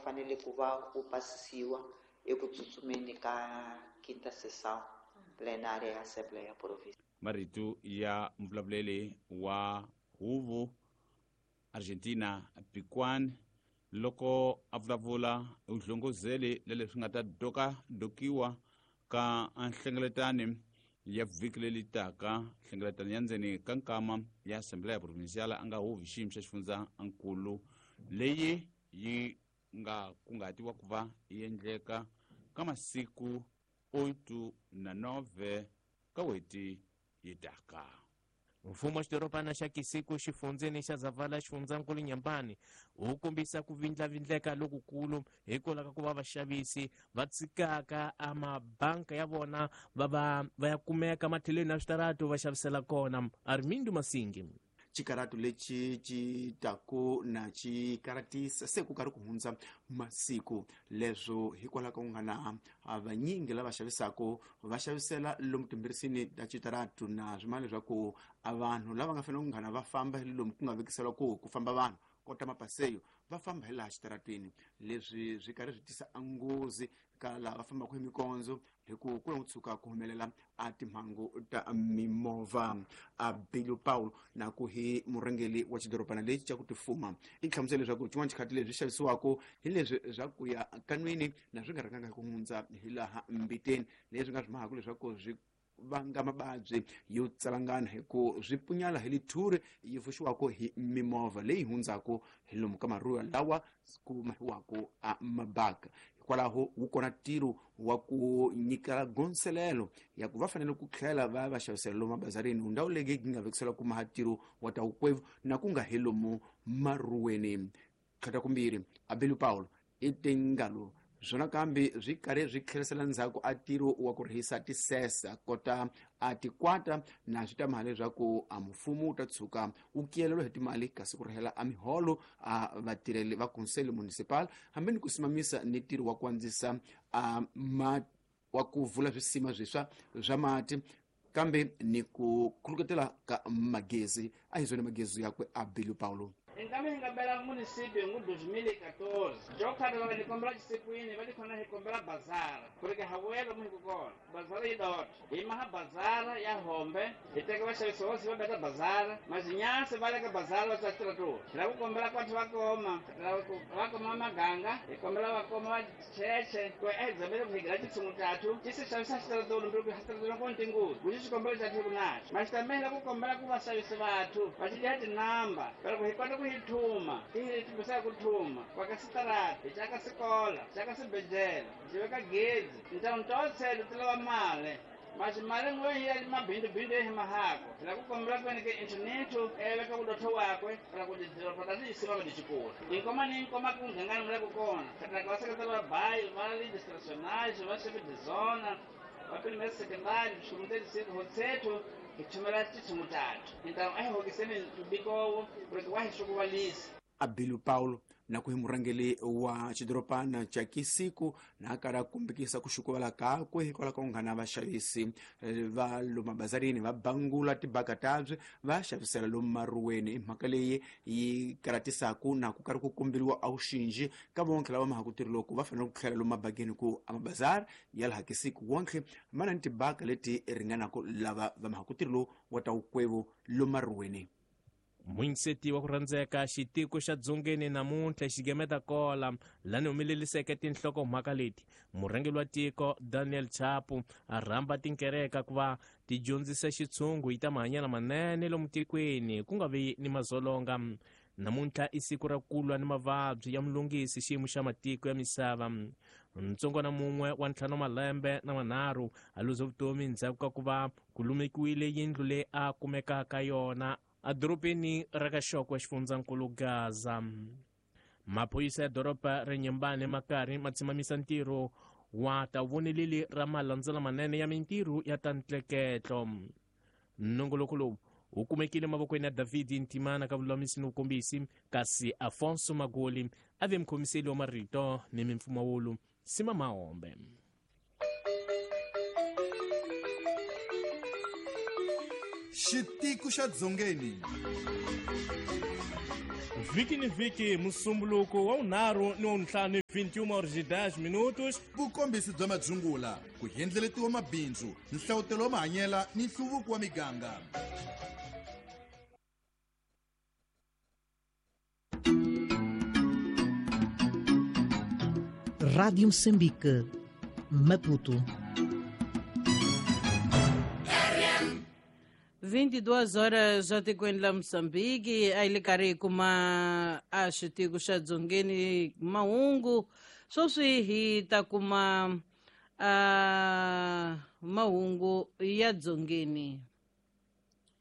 fanele ku va wu pasisiwa eku tsutsumeni ka quinta sessão plenária ya Assembleia Provincial. Marito ya mvulavuleli wa huvo Argentina Piquan loko a vulavula u hlongozele le leswi nga ta dokadokiwa ka nhlengeletano ya vhiki leri taka, nhlengeletano ya ndzeni ka nkama ya Assembleia Provincial a nga huvi xiyimo xa xifundzankulu leyi yi nga kunguhatiwa ku va yi endleka ka masiku 8 na 9 ka wheti yi taka. Mfumo wa xidorobana xa Kisiku xifundzeni xa Zavala xifundzankulu Nyambani wu kombisa ku vindlavindleka lokukulu hikwalaho ka ku va vaxavisi va tshikaka a mabanka ya vona va va va ya kumeka matlhelweni ya switaratu va xavisela kona. Armindo Masingi. Xikaratu lexi ci taku na xi karatisa se ku karhi ku hundza masiku leswo hikwalaho ka ku nga na vanyingi lava xavisaka va xavisela lomu timbirisini ta xitaratu na swimana leswaku a vanhu lava nga fanele ku nghana va famba hi lomu ku nga vekisela ku famba vanhu kota mapaseyo va famba hi laha xitaratwini. Leswi swi karhi swi tisa nghozi ka laha va fambaka hi mikondzo hi ku ku na tshuka ku humelela a timhangu ta mimovha. A Bilu Paul na ku hi murhangeri wa xidorobana lexi xa ku tifuma i hlamusela leswaku xin'wana xikhathi leswi xavisiwaka hi leswi swa ku ya kanwini na swi nga rhanganga hi ku hundza hi laha mbiteni, leswi nga swi mahaka leswaku swi vanga mavabyi yo tsalangana hi ku swi punyala hi lithuri yi pfuxiwaka hi mimovha leyi hundzaka hi lomu ka maruwa lawa ku mahiwaka a mabaka. Hikwalaho wu kona ntirho wa ku nyika gonselelo ya ku va fanele ku tlhela va va xavisela lomu mabazarini, ndhawu leyi yi nga vekisela ku maha ntirho wa ta vukwevu na ku nga hi lomu maruweni. Tlhata kumbirhi Abelu Paulo i tingalo swona kambe swi karhi swi tlherisela ndzhaku a ntirho wa ku rihisa tisesa kota a tikwata na swi ta mali leswaku a mfumo wu ta tshuka wu kiyelelwa hi timali kasi ku rihela a miholo a vatirheli va Conselho Municipal hambi ni ku simamisa ni ntirho wa ku andzisa a wa ku vula swisima swiswa swa mati kambe ni ku khuluketela ka magezi. A hi zwona magezi yakwe Abelu Paulo. Nkame hi nga bela municipio ngu 2014 jokhata va ni kombela xisikwini va tikhona hi kombela bazara ku ri ke ha vuyela mu hi ku kona bazara yi dota hi maha bazara ya hombe hi teka vaxavisi vosi va beta bazara mazinyasi va le ka bazara va tsa xitiratura hi lava ku kombela kwathu va koma va koma maganga hi kombela va koma va cheche ku a hi dzamele ku hi gira xitshungu xathu xi se xavisa xitiratura mbiri ku xitiratura ko ntinguzi ku xi xikombelo xathu ku naxo maxitamela ku kombela ku vaxavisi vathu va xi dya tinamba pero ku hi kota ku hi thuma ti hi timbisa ku thuma kwa ka sitarata hi caka sikola caka swibedhlele hi veka gezi ntawu totselo ti lava mali masi mali n'we hi ya mabindubindu hi mahako hi lava ku kombela ku ke internetho veka vudotho wakwe ra ku tidoroba ta tiyisima va tichikula inkoma ni nkoma ku nghangani mula ku kona khataka va seketela va bayi va legislationage va chef de zona va primaire secondary swikomu 36 hotsetho hi thumela titshungu tatu hintamu a hi hokiseni ntubikowo ku ri wa hi swi Abelu Paulo na ku hi murhangeri wa xidorobana xa Kisiku na karhi a kombekisa ku xukuvala kakwe hikwalaho ka ku nga na vaxavisi va lomu mabazarini va bangula tibaka tabye va xavisela lomu maruweni. I mhaka leyi yi karhatisaku na ku karhi ku komberiwa a vuxinji ka vonke lava mahaku ntirho loko va fanele ku tlhela lomu mabakeni ku a mabazari ya laha Kisiku wonke ma na ni tibaka leti ringanaka lava va mahaku ntirho lowu wa ta vukwevu lomu maruweni. Muyinseti wa ku rhandzeka xitiko xa dzongeni namuntlha xigemeta kola lani humeleliseke tinhlokomhaka leti murhangeri wa tiko Daniel Chapo a rhamba tinkereka ku va ti dyondzisa xitshungu hi ta mahanyelo manene lomu tikweni ku nga vi ni mazolonga. Namuntlha i siku ra ku lwa ni mavabyi ya mulungisi xiyimo xa matiko ya misava. Ntsongwana mun'we wa 5 malembe na manharhu a luze vutomi ndzhaku ka ku va ku lumekiwile yindlu leyi a kumekaka yona edorobeni ra ka Xokwe xifundzankulu Gaza. Maphorisa ya doroba ra Nyembane ma karhi ma tshimamisa ntirho wa ta voneleli ra malandzela manene ya mintirho ya ta ntleketlo. Nongoloko lowu wu kumekile mavokweni ya David Ntimana ka vululamisi ni vukombisi, kasi Afonso Magoli a ve mukhomiseli wa marito ni mimpfumawulo Sima Mahombe. Xitiku xa Dzongeni. Vhiki ni vhiki, Musumbuluko wa vunharhu ni wa vuntlhanu, 21 horas e 10 minutos. Vukombisi bya madzungula, ku hendleletiwa mabindzu, nhlavutelo wa mahanyela ni nhluvuko wa miganga. Rádio Moçambique, Maputo. 22 horas atikweni la Moçambique, a yi le karhi hi kuma a xitiko xa Dzongeni mahungu. Sweswi hi ta kuma a mahungu ya Dzongeni.